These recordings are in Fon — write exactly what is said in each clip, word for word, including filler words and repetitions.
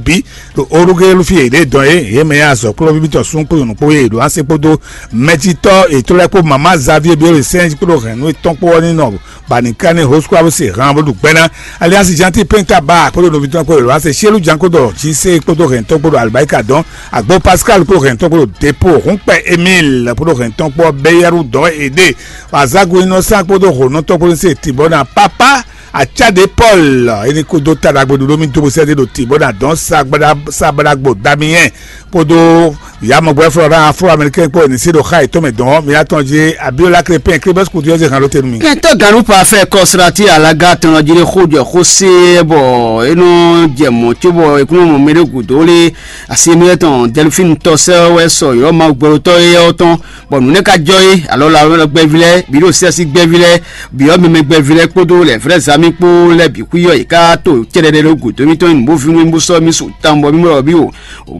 bǐ ɖo orugelu fí yěɖée dɔn é, yě mɛ azɔ̌ kplɔ́ví tɔn sún kpó nyɔ̌nu kpó e ɖo ase kpódó mɛjitɔ́ yětɔn lɛ́ɛ kpó mama Xavier Biolesɛn kpódó hɛ̌nnu étɔn kpó ɔ́ ní nɔ Banikani Hosquabu se han bó ɖu gbɛ́ ná. Aliansi Janti Penta Ba kpódó nɔví tɔn kpó Elwase Sielu Janko ɖɔ Jise kpódó hɛ̌ntɔn kpódó Alibayika dɔn Agbo Pascal kpódó hɛ̌ntɔn kpódó Depo Húnkpɛ Emile kpódó hɛ̌ntɔn kpó Beyɛru dɔn Ede Azagu Inɔsan kpódó hǒnɔtɔn kpódó se Tibɔna Papa Acade Paul. Éní kúdó ta ɖagbe ɖuɖú mì dó bó sɛ́ ɖo Tibɔna dɔn Sagbada Sagbadagbo Damiyɛn kpódó Yamɔgbɛ Florent Afro Américain kpó ɛni sí ɖo xa yětɔn mɛ dɔn mǐ atɔn jí Abiola Crépin Crébes Couture ɔ́ zé han ɖó te nú mì. Kɛntɔ Ganupa fɛ kɔsrati alaga tɔn jí ɖe xó jɔ xó se bɔ é nɔ jɛ mɔ̌ cóbɔ é kún mɔ mɛ ɖé gǔdo lé asi émí tɔn Delphine tɔ sɛ wɛ sɔ yɔ Mawu gbɛɖotɔ́ éyɛ́ ɔ́ tɔn, bɔ nǔ nɛ́ ka jɔ é, alɔ la gbɛví lɛ́ɛ bǐ ɖo sɛ́sí gbɛví lɛ́ɛ bǐ ɔ́ mɛmɛ gbɛví lɛ́ɛ kpódó lɛ̌ vrɛ́ zǎn mì kpó lɛ́ɛ bǐ xwí ɔ́ yě ká to cɛɖɛɖɛ ɖo gǔdo mítɔn nyi nǔ bó vínú bó sɔ́ mì su tawun bɔ mí mɔ ɖɔ bí o.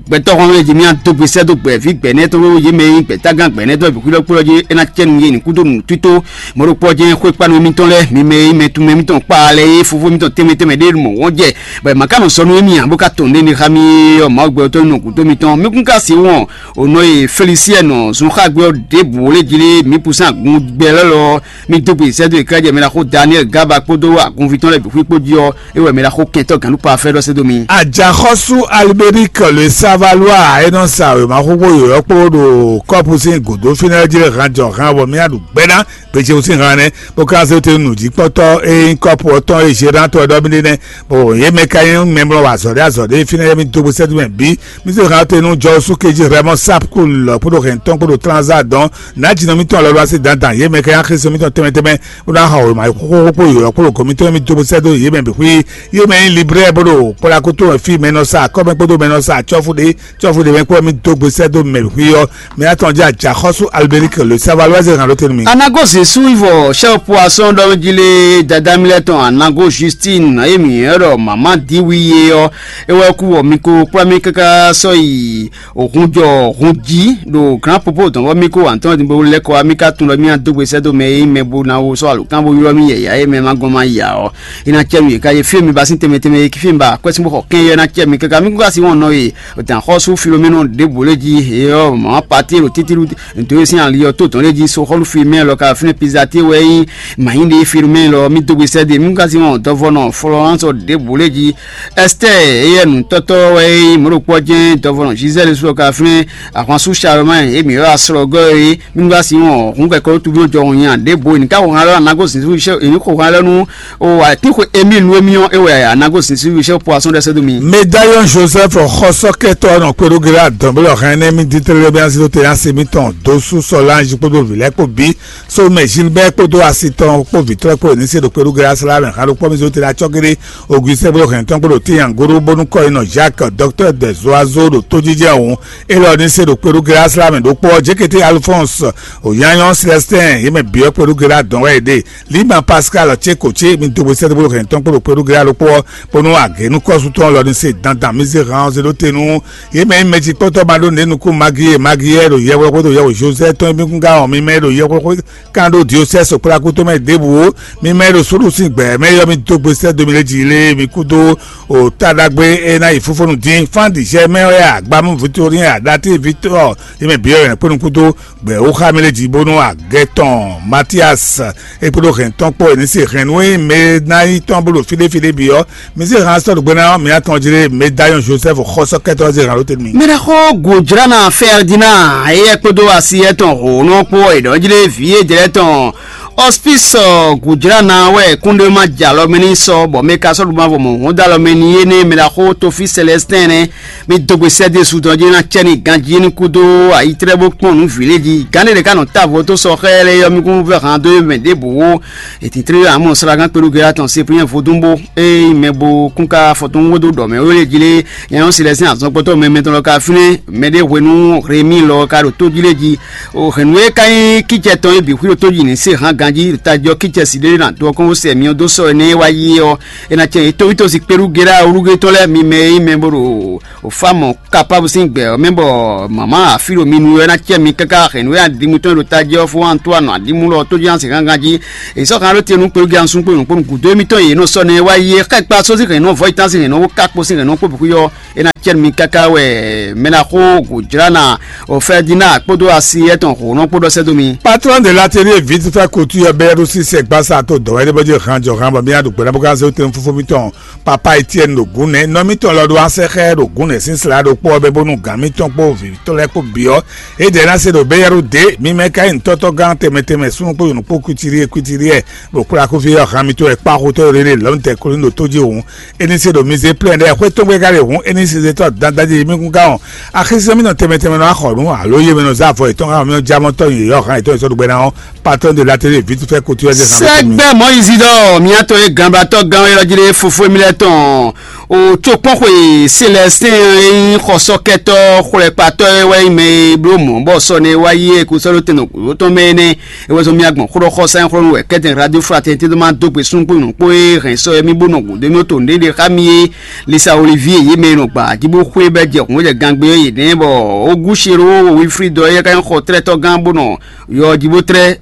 Gbɛtɔ́ hɔn e jí mì adó gbe sɛ́ dó gbɛ̌ví gbɛ̌nɛ́ tɔn yě mɛ nyí gbɛ̌tágán gbɛ̌nɛ́ tɔn bǐ xwí ɖɔ kpó ɔ́ jí é ná cɛ nú yě ní kúdó nǔ tító. Mɔ̌ ɖokpó ɔ́ jɛ́n xwékpánu émítɔn lɛ́ɛ mi mɛ e nyí mɛ tunmɛ émítɔn kpaa lɛ́ɛ é fofó mítɔn tɛnmɛ tɛnmɛ ɖé mɔ̌ wɔn jɛ, bɔ è ma ka nɔ sɔ́ nú émí ǎ bó ka tɔn ɖé ní xá mì ɔ́ Mawu gbɛtɔ́ nɔ gǔdo mitɔn mí kún ka sí wɔn. Ò nɔ e Felisiyɛnu zunxágbé ɔ́ ɖěbǔ lé jí lé mǐ pusɛ́n agun gbɛ lɛ́ lɔ mì dó gbe sɛ́ dó e ká jɛ mɛ ná xó Daniɛ́li Gaba kpódó agunví tɔn lɛ́ɛ bǐ xwí kpó jí ɔ́, é wɛ mɛ ná xó kɛntɔ́ gǎnɖupa fɛ́ ɖɔ sɛ́ dó mi. Ajaxɔ́sú Albéric le Savalois e nɔ sa wěma xóxó yǒyɔ́ kpó ɖo kɔ́pu sín gǔdo fínɛ́ jí lɛ́ han jɔ han bɔ mì aɖu gbɛ́ ná gbecewú sín han nɛ́ bó ka zé te nǔ jí kpɔ́tɔ́ e nyí kɔ́pu ɔ́ tɔn e Zerán tɔn e ɖɔ mì ɖe nɛ́. Bɔ yě mɛ ka nyí mɛmlɔ wa azɔ̌ ɖé azɔ̌ ɖé fínɛ́ mì dó bó sɛ́ dó mɛ bǐ. Mì se han te nú Jɔsu kejí Rɛmɔ Sapkul kpódó hɛntɔn kpódó Transa dɔn nǎjínɔ mítɔn lɔlɔ asi dandan yě mɛ ka nyí axéso mítɔn tɛnmɛ tɛnmɛ bó ná xa wěma xóxó kpó yǒyɔ kpó ɖo gɔ̌ mítɔn mì dó bó sɛ́ dó yě mɛ bǐ xwí. Yě mɛ nyí librɛ bó ɖo kpɔ́ɖákútó wɛ fí mɛ nɔ sa akɔ́mɛ kpódó mɛ nɔ sa acɔ́fú ɖé cɔ́fú ɖé mɛ kpó mì dó gbe sɛ́ dó mɛ bǐ xwí ɔ́. Mɛ atɔn jẹ́ Ajaxɔ́sú Albéric le Savalois hàn ló tɛnu mì. Anago Zesu ivɔ chef poisson dɔ jile dada mi lɛ tɔn Anago Justine emi yɛ ɖɔ mama di wi ye ɔ, ewɔ ku wɔ mi ko kpla mi kaka sɔ yi òhun jɔ hun jí ɖo grand popo dɔn bɔ mi ko wantɔn di bo lɛ kɔ mi ka tun lɔ mi adó gbe sɛ do mɛ yi mɛ bo na wo sɔ alukán bo ylɔ mi yɛ ya ye mɛ ma gɔn ma ya ɔ. Ina cɛ mi ka ye fi mi ba sin tɛmɛ tɛmɛ ye fi mi ba kwɛ sin bo xɔ kɛn yɛ na cɛ mi kaka mi ko ka si wɔn nɔ ye. Ò dǎn xɔ́sú Filomɛ́nu ɖěbǔ lé jí, é ɔ́, mɔ̌ pati ɖo títíɖú dǒwe sín ali ɔ́ tó dɔn lé jí, só xɔ́lú Filomɛ́nu lɔ ka fínɛ́ Pizatée wɛ nyí mǎnyí ɖé Filomɛ́nu lɔ, mì dó gbe sɛ́ ɖe, mì ka sin wɔn dɔvɔnɔ Florence ɖěbǔ lé jí, Ɛstɛ́ɛ, éyɛ́ nǔtɔ́tɔ́ wɛ nyí mɔ̌ ɖokpó ɔ́ jɛ́n dɔvɔnɔ Gisèle sú lɔ ka fínɛ́ ahwansu Charlemagne, émí ɔ́ asrɔgɔ́ é, mì ka sin wɔn hǔn kɛkɔ́ tó bí jɔ nya ɖěbǔ, è ní ka xo han lɔ anago sin sú, è ní xo han lɔ nú O atín xwe Emile nú émí ɔ́, é wɛ a nǎ gosín sí wíṣẹ́ poisson ɖɛ́ sɛ́ dó mi. Médaillon Joseph xɔsɔ́kɛtɔ́ nɔ kpeɖógéré adɔ̌nblɔ́ hɛn énɛ́ mì dín tlélé mì así dó te así mítɔn dó sú Solange kpódó vǐ lɛ́ɛ kpó bǐ, Somɛ Gilbert kpódó asi tɔn kpó vǐ tɔn lɛ́ɛ kpó ní se ɖo kpeɖógéré así lá mɛ hǎn ɖokpó mì zó te ɖo acɔ́géré Augustin kpódó hɛn tɔn kpódó tíyan góró bónú kɔ́ yi nɔ Jacques docteur des oiseaux ɖo tójíjɛ hǔn, élɔ́ ní se ɖo kpeɖógéré así lá mɛ ɖokpó ɔ́ Jékété Alphonse Òyányɔ́ Célestin yě mɛ bǐ ɔ́ kpeɖógéré adɔ̌n wɛ yě ɖe. Lima Pascal ce ko ce mi dogbe sɛ́dó bó hɛn tɔn kpó ɖo kpé ɖó gɛ́ ɖokpó ɔ́, bónú agě nú kɔ́sútɔn lɔ ní se dandan mi zé han ɔ́ zé ɖó te nú yě mɛ nyí mɛjikpɔ́tɔ́ ma ɖó nǔɖé nukún Magi e Magi yɛ ɖo yɛhwexwé ɖo yɛhwe Josɛ́ tɔn e mi kún gán ɔ́ mi mɛ ɖo yɛhwexwé kán ɖó diosɛ́ sokplákútɔ́ mɛ ɖěbǔ ó, mi mɛ ɖo súɖu sín gbɛ̌ mɛ yɔ mi dó gbe sɛ́ dó mi lé jí lé mi kúdó o ta ɖagbe e ná yi fúfónu dín fán ɖi jɛ mɛ wɛ agbamú Victorien aɖatí Victor yě mɛ bǐ wɛ kpónú kúdó gbɛ wó xá mi lé jí bónú agɛ tɔn Matias e kpódó hɛn tɔn kpó e ní se hɛn nú e mɛ ná yi tɔn bó ɖo fíɖéfíɖé bǐ ɔ́, mi sí hɛn asɔ́ ɖo gbe ná ɔ́, mi atɔn jí lé Médaillon Joseph xɔsɔ́kɛtɔ́ zé hɛn ló tɛ́ mi. Mɛɖexó Gujrana Ferdinand eyɛ kpódó asi etɔn hǒnɔ kpó èɖɔ́jlé vǐ e jlɛ́ tɔn Hospice Gujrana wɛ kúnɖé ma jɛ alɔ mɛ ní sɔ bɔ mɛ ka sɔ́ ɖu ma vɔ mɔ̌ hɔn dó alɔ mɛ ní yé nɛ́ mɛɖexó Tofi Célestin nɛ́. Mi dó gbe sɛ́ ɖésú tɔn jí ná cɛ ní ganjí ní kúdó ayitrɛ́ bó kpɔ́n nǔ vǐ lé jí. Gǎn ɖé ɖě ká nɔ távo tó sɔ xá ɛ lɛ́ɛ yɔ mì kún vɛ́ han dó mɛ ɖěbǔ wó. Ètǐtré amɔ sragán kpéɖu gɛ́ atɔn se pínyɛ vodúnbó eye mɛ bo kún ká fɔtɔn wó dó ɖɔ mɛ wé lé jí lé. Nyɛ ɔ́ si lɛ́ sín azɔngbɔtɔ́ mɛ mɛtɔn lɔ ka fínɛ́ mɛ ɖé hwenu Rémi lɔ ka ɖo tó jí lé jí. O hɛ̌nnu e ka nyí kícɛ tɔn e bǐ xwí ɖo tó jí ní se hán ganjí tajɔ kícɛ si ɖé ná dó ɔkɔ́n wó sɛ myɔ dó sɔ énɛ́ wá yí ɔ́. É ná cɛ yě tóvítósi kpéɖu gɛ́ ɖá olúgé tɔn lɛ́ɛ mi mɛ e nyí mɛ bo ɖo Ofa mɔ kapábu sín gbɛ ɔ́ mɛ bɔ mama afi ɖo mi nu wɛ ná cɛ mi káká hɛn nǔ e adimutɔn e ɖo tají ɔ́ fó Antoine adimú lɔ tó jí asi gángan jí. È sɔ́ kan ɖó te nú kpelúgi ansú kpó nǔkpó nǔ gǔdo émítɔn yě nɔ sɔ́ nɛ́ wá yi é xá kpa só sín hɛ̌nnɔ vɔ̌ yi tán sín hɛ̌nnɔ wó ká kpo sín hɛ̌nnɔ kpó bǐ xwí ɔ́. É ná cɛ́nú mi káká wɛ mɛ ná xó gǒjlá ná o Fɛdina kpódó asi etɔn hǒnɔ kpó ɖɔ sɛ́ dó mi. Patron de l'atelier vite fait couture bɛ́ ɖo sísɛ gbasa to dɔ̌ wɛ ɖé bɔ jɛ han jɔ han bɔ mía ɖo gbɛ̌ ná bó ká zé tɛn fúfú mitɔn papa Etienne ɖo gǔn nɛ́ nɔ mitɔn lɔ ɖo asɛxɛ ɖo gǔn nɛ́ sín sla ɖokpó ɔ́ bɛ bónú gǎn mitɔn kpó vǐ tɔn lɛ́ɛ kpó bǐ ɔ́, é ɖɛ ná se ɖo bɛ́yɛ́ɖó dě mi mɛ ka nyí nǔtɔ́tɔ́ gán tɛnmɛ tɛnmɛ súnnu kpó yǒnú kpó kwítírí kwítírí ɛ ɖo kplá kúfí ɔ́ han mitɔn wɛ kpá xotɔ́ rere lɔ̌n tɛ kolín ɖo tó jí hǔn. É ní se ɖo mi zé plɛ́n ɖɛ́ xwé tɔn gbe ka ɖe hǔn é ní se zé tɔ́ dandan jí mi kún gán ɔ́. Axézɛ́n mi nɔ tɛnmɛ tɛnmɛ nɔ axɔ nǔ alo yé mɛ nɔ zá avɔ yětɔn xá mi nɔ já mɔ tɔ́ yě yɔ́ han yětɔn yě sɔ́ ɖo gbɛ ná ɔ́, patɔ́n de l'atelier vite fait couture ɔ́ zé han mitɔn mi. Sɛgbɛ Moyizi ɖɔ miatɔ ye ganbatɔ gán wɛ lɔ jlé fofo mi lɛ tɔn o tsokpɔn xwe Célestin e nyí xɔsɔkɛtɔ xwlɛkpatɔ e wɛ nyí mɛ e bló mɔ̌ bɔ sɔ ne wá yí e kú sɔ́ ɖó tɛn nɔ gǔdo tɔn mɛ énɛ́. E wɛ zɔn mia gbɔn xó ɖɔ xɔsa nyí xó nú wɛ kɛ́tɛn radio fraternité ɖó ma dó gbe súnnu kpó nyɔ̌nu kpó e hɛn sɔ e mí bó nɔ gǔdo mí to nɖéɖé xá mi é. Lisa Olivier yě mɛ e nɔ gba jí bó xwé bɛ́ jɛ hǔn jɛ gangbe ɔ́ yě nɛ́ bɔ Ogúsiró Wilfrid ɔ́ é ka nyí xɔtlɛ́tɔ́ gán bó nɔ yɔ jí bó tlɛ́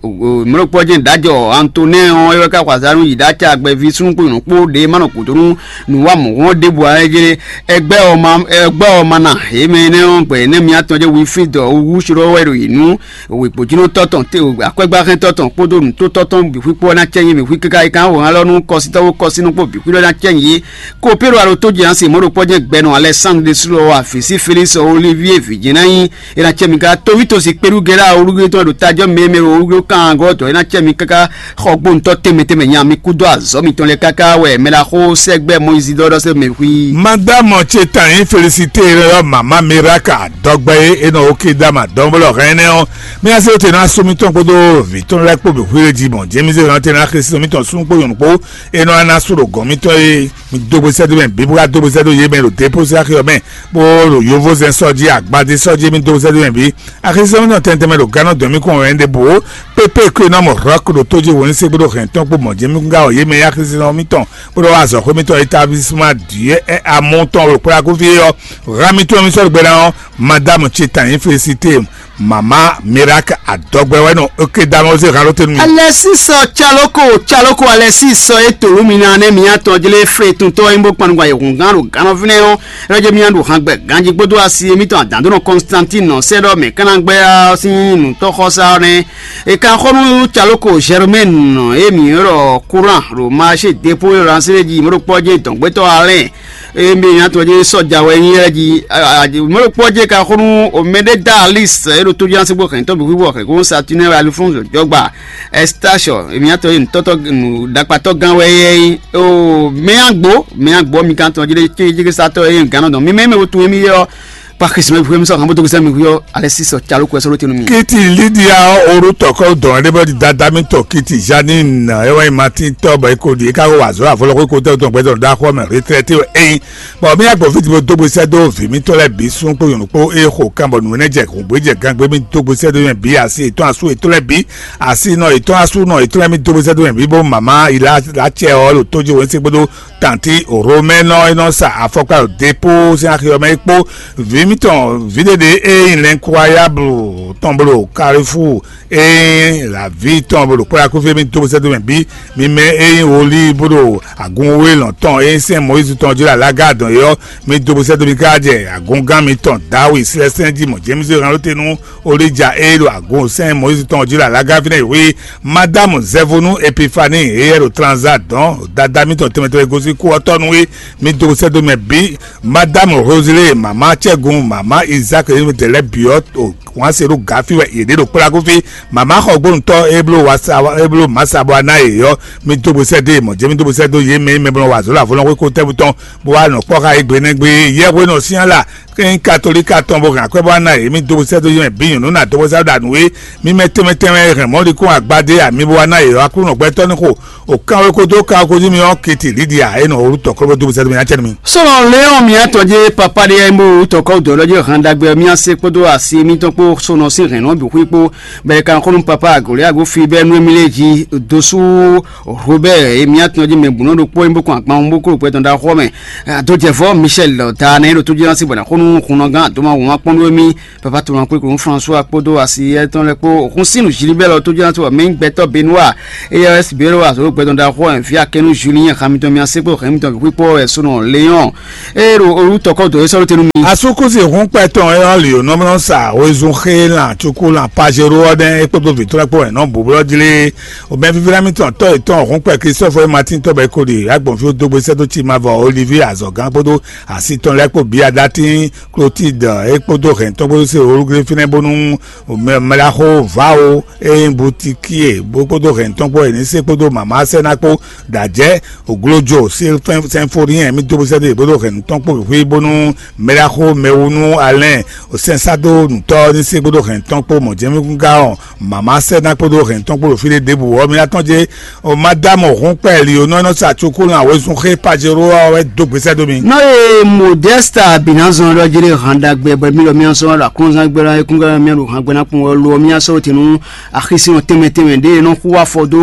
mlɔkpɔ́ jɛ́n ɖǎjɔ Antonɛ́ɛ ɔ́ é wɛ ká xɔ azǎn nú yi ɖó acɛ agbɛví súnnu kpó nyɔ̌nu kpó ɖě ma nɔ gǔdo nú nǔwamɔ̌hɔn ɖěbǔ ǎ é jlé. Ɛgbɛ́ ɔ́ ma ɛgbɛ́ ɔ́ ma na yě mɛ énɛ́ ɔ́ gbɛ̌ énɛ́ miatɔn jɛ́n Wilfrid ɔ́ wú srɔ́ wɛ ɖo yě nú wěkpojínɔtɔ́ tɔn akwɛ́gbáhɛntɔ́ tɔn kpódó nǔtótɔ́ tɔn bǐ xwíkpó ɔ́ ná cɛ́ nyí mǐ xwí káká yi kán wǒ hán lɔ nú kɔsítɔ́ kpó kɔsínú kpó bǐ xwí lɔ ná cɛ́ nyí yě. Kopéro alo tó jɛ ǎ se mɔ̌ ɖokpɔ́ jɛ́n gbɛnɔ Alɛsándre sú lɔ wá vǐ sí Felísi Olivie vǐ jɛ́n ná nyí. É ná cɛ mi ká toví tosi kpéɖu Gɛlá olúgbé tɔn ɖo tajɔ mɛmɛ olúgbé kan gɔ́ dɔ̌ é ná cɛ mi káká xɔ gbóntɔ́ tɛnmɛ tɛnmɛ nya mi kúdó azɔ̌ mitɔn lɛ káká wɛ mɛ ɖaxó sɛgbɛ Mɔyízi ɖɔ ɖɔ sɛ mɛ xwí. Madame ce tan yín félicité yɔ mama miraka dɔgbɛ ye e nɔ oke dama dɔnbɔlɔ hɛn nɛ ɔ. Mi ase te na so mitɔn kpodo vi tɔn lɛ kpo bi hwele ji mɔ jɛmi se hàn te na xesi mitɔn sun kpo yɔn kpo e nɔ ana so ɖo gɔn mitɔn ye. Mi dogbe sɛ do mɛ bibu ka dogbe sɛ do ye mɛ ɖo depo se axi ɔ mɛ. Bó ɖo yovózɛn sɔjí agbadé sɔjí mi dó sɛ́dó mɛ bǐ. Axisɛ́nwó nɔ tɛntɛn mɛ ɖo gánɔ dɔn mì kɔn wɛ ɖěbǔ. Pépé kwé nɔ mɔ hlɔ̌k ɖo tó jí wǒ ní sé gbódò hɛn tɔn kpó mɔ̌ jɛ mì gúngá ɔ yě mɛ axisɛ́nwó mítɔn bó ɖɔ wá azɔ̌xwé mítɔn établissemá dǐ ɛ amú tɔn ɖo kplá kúfí ɔ́. Há mì tɔn mì sɔ́ ɖo gbéra ɔ́, madame ce tan yín félicité. Mama miracle adɔgbɛ wɛ nɔ oke da mɔ se halo tenu mi. Alɛsisɔ caloko caloko alɛsisɔ e tolu mi na ne mi atɔn jle fle tuntɔ e bo kpanu gba yehun gan ɖo ganɔ fínɛ ɔ́. Rɛjɛ mi ɖu han gbɛ ganji kpódó asi emitɔn adandonɔ Constantine nɔ sɛ ɖɔ mɛ kana gbɛ ɔ́ sín nutɔxɔsa ɔ́ nɛ. E kan xɔ nú caloko Germaine e mi ɖɔ courant ɖo marché dépôt e lɔ ansé ji mɔɖokpɔ jɛ dɔngbɛtɔ alɛ. Eye mi nya tɔn jɛ sɔja wɛ nyi yɛ ji mɔɖokpɔ jɛ ka xɔ nú omɛɖe da alis e ɖo tó jɛ ansé gbɔ hɛn tɔ bi wíwɔ hɛn kó satinɛ alfonso jɔgba. Estasio emi nya tɔn ye nutɔtɔ nu dakpatɔ gan wɛ yɛ yi o mɛ agbo mɛ agbo mi kan tɔn jɛ jɛ satɔ ye gan nɔ dɔn mi mɛ mɛ wo tun emi yɛ ɔ. Pakisima ibu mi sɔ kan bó tó gbèsè mi hu yɔ alẹ́ sísọ calo kó ẹsẹ̀ ló tẹnu mi. Kiti Lidia ɔ́ orútɔ kɔ dɔn ɖé bɔ dada mi tɔ kiti Janine ɛ wáyé Martin tɔ bɔ eko di eka ko wà zɔ àfọlọ́kọ́ eko tẹ́ o tɔn gbẹ́dọ̀ dá xɔ mɛ retraité o ẹyin. Bɔn mi agbɔ fiti bo dógbe sɛ dó vi mi tɔ lɛ bi sun kpo yɔn kpo eye xo kan bɔ nù ne jɛ hùn bó jɛ gangbe mi dógbe sɛ dó yɛn bi asi etɔn asu etɔn lɛ bi asi nɔ etɔn asu nɔ etɔn lɛ mi dógbe sɛ dó yɛn bi bó mama ila la cɛ ɔ lo tó jí wɛn se gbódó Tanti Romɛnɔ e nɔ sa afɔkpa ɖo depo sín axi ɔ́ mɛ é kpó vǐ mitɔn vǐɖeɖe e nyí lɛnkuayablu tɔn blo Kalifu e nyí laví tɔn blo kplá kúfí mi dó sɛ́dó mɛ bí mi mɛ e nyí wòlí bó ɖo agun wé lɔn tɔn e nyí sɛn Mɔyízi tɔn jí ɖo alága dɔn é ɔ́, mi dó sɛ́dó mi ká jɛ agungán mitɔn Dawi Silɛsɛn jí mɔ Jemísi hɛn ló te nú Olija e ɖo agun sɛn Mɔyízi tɔn jí ɖo alága fínɛ́ yi xwí. Madamu Zɛvonu Epifani e yɛ ɖo Tranza dɔn dada mitɔn tɛnmɛ tɛnmɛ gosín kú ɔ́ tɔnu é, mi dó sɛ́dó mɛ bí. Madamu Rosele mama Cɛgun mama Izak e ɖo lɛ́ bǐ ɔ́ o wǎn se ɖo gǎ fí wɛ yě ɖe ɖo kplá kó fí. Mama xɔ gbónútɔ́ e bló wasa e bló masa bɔ aná yě ɔ́, mi dó gbe sɛ́ dó mɔ̌ jɛ mi dó gbe sɛ́ dó yě mɛ e mɛ bló wà zǒ lǎ fɔlɔ́n xwé kó tɛ́ bú tɔn bó wá nɔ kpɔ́ xá égbé nɛ́ gbé yɛ́hwé nɔ syán la kɛ́n katolíka tɔn bó hɛn akwɛ́ bó ná yě mi dó sɛ́ dó yé mɛ bǐ nyɔ̌nu ná dó sɛ́ ɖo nǔ é mi mɛ tɛnmɛ tɛnmɛ hɛn mɔ̌likún agbadé ami bó wá ná yě ɔ́ Aklúnɔ gbɛtɔ́ ní xo o kan wé kó dó kan wé kó jí mi ɔ́ kiti Lidia e nɔ wǒ tɔ́ kó bó dó sɛ́ dó mi ná cɛ nú mi. Sɔlɔ Léon miatɔ je papa ɖe ya bo tɔkɔ dɔ lɔ je hɛn dagbe mia se kpódó asi mitɔn kpó sonɔ sin hɛn nɔ bi xwí kpó bɛ kan xɔnu papa agoli ago fi bɛ nu mi le ji dosu Robert e miatɔ je mɛ bunɔ ɖokpó yin bó kɔn agban bó kó ɖo pɛtɔn ɖa xɔ mɛ. Adojɛvɔ Michel ta ne ɖo tó jɛ na si bɔ na xɔnu hunnɔgán àdóma wǒn akpɔ́nɖó émí, papa tɔn kpékpé François kpódó asi étɔn lɛ́ɛ kpó. Hun sín nǔ Gilbert lɔ tó jɛ́n wɛ mɛ nyí gbɛtɔ́ Benoît, éyɛ́ wɛ Sibéro azɔ̌ gbɛdɔn ɖaxó ɛ vǐ akɛnú Julien xamitɔn mia sɛ́kpó hɛn mitɔn bǐ xwíkpɔ́ wɛ sónɔ Léon. Ée ɖo olú tɔkɔ́ dǒ é sɔ́ ló tɛnu mi. Asúkúsi hún kpɛtɔn e ɔ́ lǐ nɔ́mlɔ́ sa wezun xé lan cukú lan pajero ɔ́ nɛ́ é kpódó vǐ tɔn lɛ́ɛ kpó wɛ nɔ́ bǔblɔ́ jlé. Omɛ fífíɖá mitɔn tɔ́ yětɔn hún kpɛ Kristofu e Matín tɔ́ bɔ é ko ɖe agbɔ̌nfí dó gbé sɛ́ dó cí ma vɔ Oliví azɔ̌gán kpódó asi tɔn lɛ́ɛ kpó bǐ aɖatín Klotide é kpódó hɛn tɔn kpódó se olúglé fínɛ́ bónú mɛɖaxó Vao e nyí Butikie bó kpódó hɛn tɔn kpó Enise kpódó mama Sɛna kpó ɖajɛ oglojo Sinfonien mì dó bó sɛ́dó yě kpódó hɛn tɔn kpó xwí bónú mɛɖaxó mɛwúnú Alɛn sɛnsádó nǔtɔ́ ní se kpódó hɛn tɔn kpó mɔ̌jɛmígúngá ɔn mama Sɛna kpódó hɛn tɔn kpó ɖo fí ɖé ɖěbǔ ɔ́ mi ná tɔn jɛ O madame Hunkpɛ Lionɔ nɔ sa cukú lan wezun xé Pajero ɔ́ wɛ dó gbèsè dó mi. Nɔ ye Modesta binazɔn ɖɔ jere handa gbɛ bɔ mi lɔ mi asɔ ɖo aklɔnzan gbɛ la ekun gbɛ mi ɖo han gbɛ na kun lo mi asɔ te nu axisi nɔ tɛmɛ tɛmɛ ɖe nɔ xu afɔ do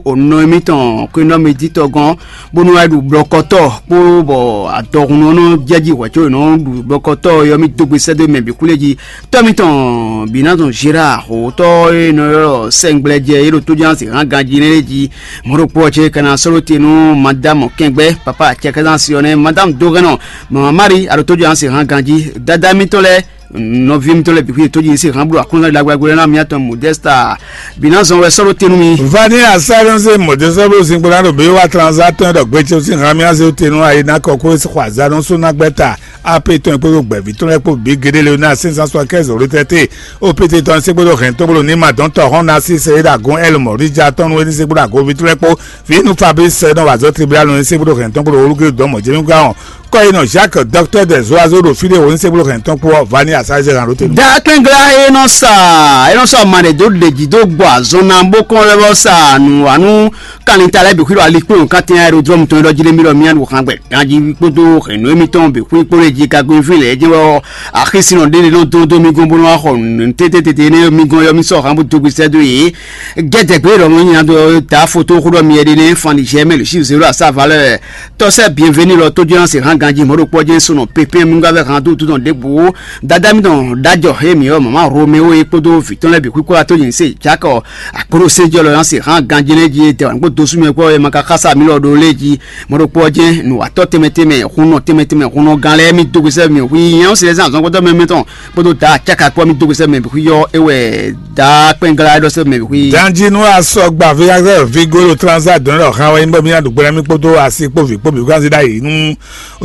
onɔ mi tɔn ko nɔ mi di tɔ gɔn bonu wa ɖu blɔkɔtɔ kpo bɔ adɔhun nɔ jɛji hwɛ co nɔ ɖu blɔkɔtɔ yɔ mi dó gbèsè dó mɛ bi kule ji Tɔ́ mitɔn Binaton Gérard xotɔ́ e nɔ ylɔ́ sɛngblɛjɛ e ɖo tójúansi hán ganjí nɛ́ lɛ́ɛ jí. Mɔ̌ ɖokpó ɔ́ cé ka ná sɔ́ ɖó te nú Madame Kɛngbɛ́, Papa Cɛkɛzán Siɔnɛ, Madame Dogɛnɔ, Mama Mari, a ɖo tójúansi hán ganjí. Dadá mitɔn lɛ́ɛ, nɔví mitɔn lɛ́ɛ bǐ xwíe tójúansi hán bló aklúnɔ́ ɖagbe lɛ́ɛ ná miatɔn Modesta Binazɔn wɛ sɔ́ ɖó te nú mi. Vani asɛrɛnse mɔdɛsɛblo zinkpo ná ɖo bɛ wa transaktɔn ɖɔ gbɛtsɛ sín hàn mí azé te nú ayi ná kɔ kó xɔ azanɔ só ná gbɛ́ ta. Ape tɔn kpódó gbɛ̌ví tɔn lɛ́ɛ kpó bǐ géɖé Leonard cinq cent soixante-quinze retraité, O P T tɔn sɛ́ kpódó hɛn tɔn kpódó ní ma dɔn tɔ hɔn na sí sɛ é ɖo agun Ɛl Mɔríja tɔn nú é ní sɛ́ kpódó agunví tɔn lɛ́ɛ kpó. Vǐ nú Fabrice sɛ nɔ wa azɔ̌ tribunal nɔ ní sɛ́ kpódó hɛn tɔn kpódó olúkúlú dɔn mɔ̌ jɛ́mí gán ɔn. Kɔ yi nɔ Jacques docteur des oiseaux ɖo fí ɖé wǒ ní sɛ́ kpódó hɛn tɔn kpó ɔ́ va ní asáyézé hàn ló tɛ́ nú. Dakpɛngla e nɔ sa e nɔ sɔ ma ɖe dó ɖeji dó gbɔ azɔn ná bó kɔn lɛ́ vɔ sa nǔwanu Kanlin ta lɛ́ɛ bǐ xwíɖɔ alikpɔ́n kátɛn aerodrɔ́mu tɔn e ɖɔ jí ɖé mì ɖɔ mì nǎ ɖu xan gbɛ ganjí kpódó hɛ̌nnu émítɔn bǐ xwí kpódó jí ka gbé fí lɛ́ɛ jɛ́n wɛ ɔ́, axisínɔ ɖé ɖé nɔ dó dó mì gɔ́n bó nɔ́ wá xɔ nǔ tététété énɛ́ mì gɔ́n ɔ́, mì sɔ́ hǎn bó dó gbèsè dó yě. Gɛ́dɛ̀gbé ɖɔ mɔ nyina dó ta foto xó ɖɔ mi ɛɖé nɛ́ fan ɖi jɛ mɛ lě sí zéro à sa valeur tɔ́ sɛ́ bienvenu lɔ tó jɛ́n se hǎn ganjí mɔ̌ ɖokpó jɛ́n sɔnɔ pépé mì gɔ́ vɛ hǎn dó dó tɔn ɖěbǔ. Dadá mì tɔn ɖ'ajɔ hé mǐ ɔ́, mama Romeo é kpódó vǐ tɔn lɛ́ɛ bǐ xwíxwá tó nyi se Jakɔ Akpɔ́ɖó sɛ́njɔ́lɔ ɔ́ sin hǎn ganjí lɛ́ɛ jí, é dɛ wǎn kpó dó sú mì wɛ kpɔ́, é ma ka xá sa mǐ lɔ ɖó lé jí. Mɔ̌ ɖokpó ɔ́ jɛ́n nǔwatɔ́ tɛnmɛ tɛnmɛ, hunnɔ tɛnmɛ tɛnmɛ, hunnɔgán lɛ́ɛ mì dó gbèsè mɛ hu nyɛ ɔ́ se lɛ́ zán azɔ̌gbɔ́tɔ́ mɛ mɛtɔn kpódó da acáka kpó mì dó gbèsè mɛ hu yɔ é wɛ da kpɛngla é ɖɔ sɛ́ mɛ hu. Danji nú asɔgba vi axɛ vigo ɖo transa dɔn ɖɔ xan wɛ nyí bɔ mì ná ɖu gbɛ́ ná mì kpódó asi kpó vǐ kpó bǐ kó anzi ɖ'ayǐ nú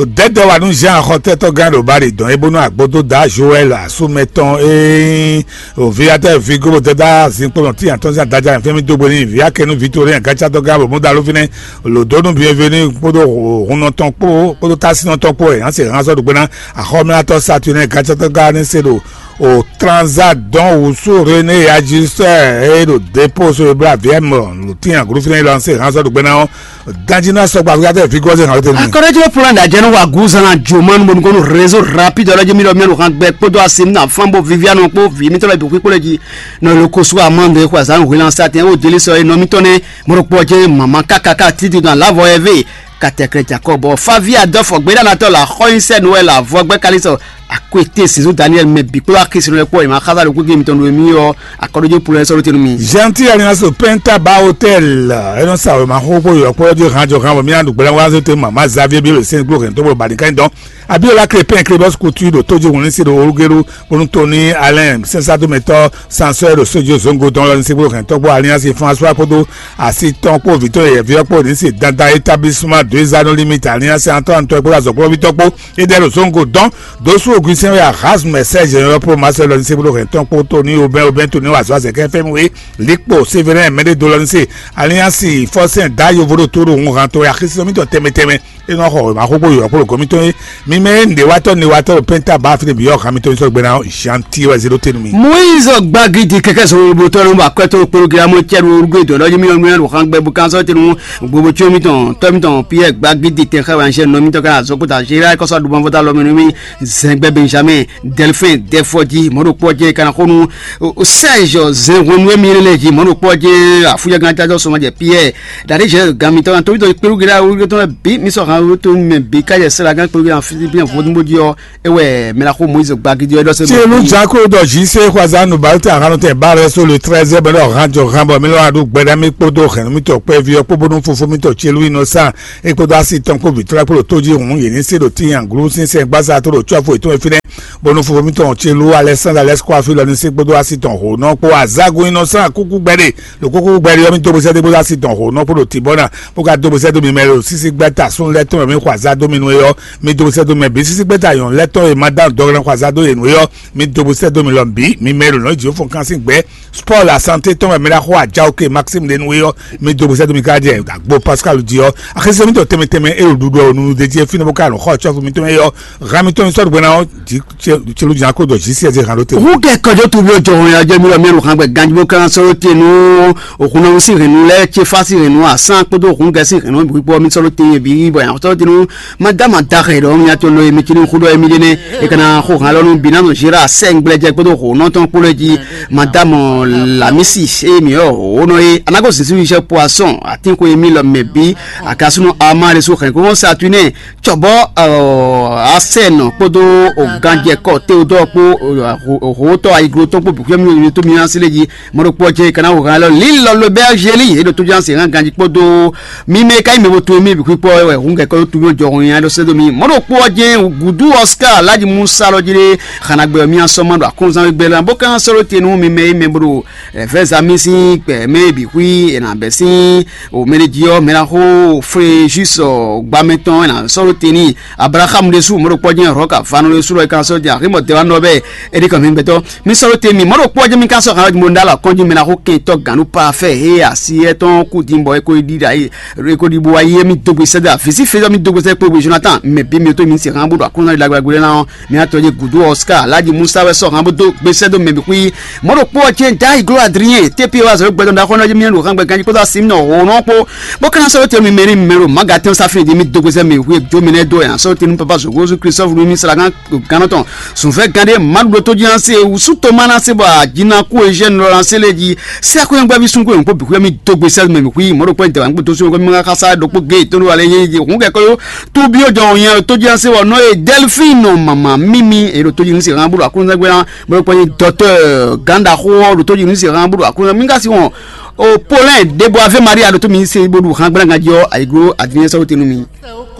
dɛdɛ wa nú Jean xɔtɛtɔ gán ɖo Bali dɔn é bónú agbódó da Joël asúmɛtɔn é Ovi atɛ vi gobo dada zinkpo nɔ ti atɔn sin adaja fɛn mi dogbe ni vi akɛnu vi to ɖe gacatɔ ga bo mo da lo finɛ lo do nu bienvenu kpodo hunnɔtɔn kpo kpodo tasinɔtɔn kpo ɛ anse han sɔ dogbe na axɔmlatɔ Saturnin gacatɔ ga ne se ɖo o transa dɔn wusu René Ajustɛ e ɖo depo so ebla viɛ mɔ lo ti aglu finɛ lɔ anse han sɔ dogbe na ɔ Danji ná sɔgbe afi káfíńsì fi gɔ́zé hàn lóte nìyẹn. Akɔrɔjɔ plan da jɛnu wa guzan na joma nu bonu kɔnu réseau rapide ɔlɔjɛ mi lɔ mianu hàn gbɛ kpódó asim na fan bó vivianu kpó vi mi tɔlɔ ibi kpó lɛ ji nɔ lo kosu amande xɔ azan hwilan satin o deli sɔ enɔ mi tɔn ne mɔrɔkpɔ jɛ mama kakaka titi na lavɔ ɛvɛ katɛkrɛ jakɔ bɔ favi adɔfɔ gbɛdanatɔ la xɔyinsɛ nuwɛ la vɔ gbɛ kalisɔ akwete sizu Daniel mɛ bi kpó akisi nɔ kpɔ ima xaza lo gbégbé mi tɔn do mi yɔ akɔrɔjɔ plan sɔ lóte nu mi. Gentil alliance au Penta Bar Hotel. Enɔ sa wema xo kpó yɔ kpó jɔ hàn jɔ hàn bɔ mi adu gbɛlɛ wa zete mama Xavier bi le sen kpó hɛn tó bɔ bani kan dɔn. Abiola Crépin Crébos Couture ɖo tó jɛ wòlín se ɖo olugelu bónú Tony Alain sɛnsadomɛtɔ sansɔɛ ɖo sójú zongo dɔn lɔ ní se kpó hɛn tɔgbo alliance François kpódó asi tɔn kpó vitɔ yɛ viɔ kpó ní se dandan établissement deux anneaux limite alliance antɔ antɔ kpó azɔkplɔvitɔ kpó Eder Zongo dɔn dosu oguisɛn wɛ ahaz mɛsɛj yɔyɔ pro masɛ lɔ nise bolo hɛn tɔn kpó tó ní obɛn obɛn tó ní wazɔ azɛ kɛ fɛn we likpo severin mɛɖe do lɔ nise aliansi fɔsɛn da yovo ɖo tó ɖo hun han tó ya xisɔ mitɔ tɛmɛ tɛmɛ enɔ xɔ ma xókó yɔ kpó gɔmi tó ye mi mɛ nɖe watɔ ne watɔ ɖo pɛnta ba fili bi yɔ han mi tó ní sɔ gbɛna janti wɛ zero tenu mi. Moise gbagidi kɛkɛ sɔrɔ botɔ nu ba kɔtɔ kpolo gila mo cɛ ɖo rugo dɔ lɔ mi yɔ mi ɖo han gbɛ bu kan sɔ tenu gbogbo tso mitɔn tɔ mitɔn pi Gbagidi tɛn xá wɛ anjɛ nɔ mitɔ kana zɔn kota Gérard kɔsɔ aɖumɔ fɔta lɔ mi nú mi. Zɛngbɛ Benjamin, Delphin, Dɛfɔji, mɔɖokpɔ jɛ kana xonu. Serge, zɛn hwenu emi lɛ ji mɔɖokpɔ jɛ afuyɛ gan tajɔ sɔmɔ jɛ Pierre. Dade jɛ gan mitɔ kan tomitɔ kpeɖu gɛɖɛ awu tɔn bi mi sɔ han to mɛ bi ka jɛ sɛla gan kpeɖu gɛɖɛ afi bi vodun bo ji ɔ. Ewɛ mɛ la xo Moïse Gbagidi ɔ dɔ se. Tielu jako dɔ zi se xwaza nu balte ahan tɛ ba rɛ so le trɛzɛ bɛ lɔ han jɔ han bɔ mi lɔ adu gbɛɖɛ mi kpodo hɛn mi tɔ kpɛ vi ɔ kpo bonu fofo mi tɔ tielu inɔsan e kpodo asi tɔn kpo vitɔlɛ kpo ɖo to jí hun yě ní se ɖo tíyan glu sínsɛn gbasa to ɖo tsɔfo ètò efinɛ bonu fofo mi tɔn tielu Alexandre Alexkɔ afi lɔ ní se kpodo asi tɔn ho nɔ kpo azagun inɔsan kúkú gbɛɖe ɖo kúkú gbɛɖe ɔ mi dó bosɛ dé kpodo asi tɔn ho nɔ kpo ɖo tibɔ na bó ka dó bosɛ dó mi mɛ ɖo sísí gbɛta sún lɛ tɔn mi xɔ aza dó mi nu e ɔ mi dó bosɛ dó mɛ bǐ sísí gbɛta yɔn lɛ tɔn e ma dán dɔgɔlɛ xɔ aza dó yě nu e ɔ mi dó bosɛ dó mi lɔ bǐ mi mɛ ɖo nɔ jǐ fɔn kan sín gbɛ sport la santé tɔn wɛ mi ɖa xɔ ajawo ke Maxime ɖe nu e ɔ mi dó bosɛ dó mi ka jɛ agbo Pascal di ɔ axese mi tɔ tɛmɛ tɛmɛ e ɖo ɖuɖu ɔ nunu de jí e fínɛ bó ka nɔ xɔ tsɔfu mi tɔn e ɔ hami tɔn mi sɔɖu gbɛna ɔ jí celu jan ko dɔ jí siɛ zé hàn ló te. Hu kɛ kɔjɔ tu bi ojɔ hɔn ya jɛ mi lɔ mi ɖo hàn gbɛ ganji bó kan sɔrɔ te nu òkun náà sí hɛn nu lɛ tse fa sí hɛn nu asán kpódó òkun gɛ sí hɛn nu bɔ mi sɔrɔ te bi bɔ yan sɔrɔ te nu ma da ma da xɛ dɔ mi ato lo mi tini xudɔ mi dene e kana xo hàn lɔ nu bi na no zera sɛ ngblɛ jɛ kpódó xo nɔtɔn kpolo ji ma da mɔ lamisi e mi ɔ o nɔ ye anago sisi wi sɛ poisson atin ko mi lɔ mɛ bi akasunu ama de su hɛn ko sa tu ne tsɔbɔ asɛnɔ kpódó oganjɛkɔ teodɔ kpó howótɔ ayiglotɔ kpó bùkúyɛmí tó mi asi lé jí mɔɖokpɔ jɛ kana wò hàn lɔ lílɔ lobɛ azeli eɖo tó ján se hàn ganji kpódó mímɛ ka yi mɛ bo to mi bìkú kpɔ wɛ hùn kɛkɔ tó mi jɔ hùn yàn lɔ sɛdó mi mɔɖokpɔ jɛ gudu Oscar Alhaji Musa lɔ jí lé xana gbɛ mi asɔmɔ ɖo akɔnzan gbɛ la bó kan sɔrɔ tenu mímɛ yi mɛ bo ɖo ɛfɛ zami sín gbɛ mɛ bìkú yi ɛnà bɛ sín o mɛ ɖe jí ɔ́ mɛ ná xó Fréjus gbamɛ tɔn ɛ nà sɔ́ ɖó te n'i. Abraxamu ɖésú mɔ̌ ɖo kpɔ́ jɛ́n Rɔ̌ka vano ɖésú lɔ é ka sɔ́ jɛ aximɔ dɛwanɔ bɛ́ é ɖi kɔn mi gbɛtɔ́. Mi sɔ́ ɖó te mi mɔ̌ ɖo kpɔ́ jɛ́n mi ka sɔ́ xan mo ɖó alɔ kɔn jí mɛ ná xó kɛntɔ́ gǎn nú parafɛ́ he asi étɔn kú din bɔ é ko ɖi ɖa é ko ɖi bo wá yé mi dó gbe sɛ́ dó avǐ sí fezɔ́ mi dó gbe sɛ́ kpó gbe Jonathan mɛ bí mi tó mi se xan bó ɖo aklúnɔ ɖagbe ná ɔ́. Mía tɔ́ yě gǔdo Oscar Alhaji Musa wɛ sɔ́ hǎn bó dó gbesɛ dó mɛ bǐ xwí. Mɔ̌ ɖokpó ɔ́ cɛ́n Dayi Glóa Adrien T P wá zɔ̌ gbɛdɔn ɖaxó ɔ́ jí mía ɖo hǎn gbɛ ganjí kpódó asi nɔ hǒnɔ kpó. Bó ka ná sɔ́ dó te mi mɛ ní mɛ ɖo Magatin Safin jí mí dó gbesɛ mɛ xwí jó mi nɛ́ dó ɛ sɔ́ dó te nú papa zǒgózú Christophe nú mí sla gán gánɔ tɔn. Sùnfɛ́ gán ɖé Maɖuɖo tó jí ná se wǔsú Toma ná se bɔ ajínakú Eugène lɔ ná se lé jí. Sɛ́ xwé gbɛ́ví sún kó yǒn kpó bǐ xwé mí dó gbesɛ mɛ bǐ xwí. Mɔ̌ ɖokpó ɛ dɛ̌ wǎ gbódó sún kó mí ká sá ɖokpó gé tó ɖó alɛ yé xún kɛkɔ́ yó. Tóbi ɔjɔ yẹn tó jẹ́ se wɔ nɔ ye Delphine mama mimi e ɖo tó jinu se hàn bolo akunzɛ gbɛna bolo kpɔ ye dɔtɔ ganda xo ɔ ɖo tó jinu se hàn bolo akunzɛ mi ka si wɔn o Paulin debo ave Maria ɖo tó mi se bolo hàn gbɛna gajɔ ayiglo advinyɛ sɔrɔ tenu mi.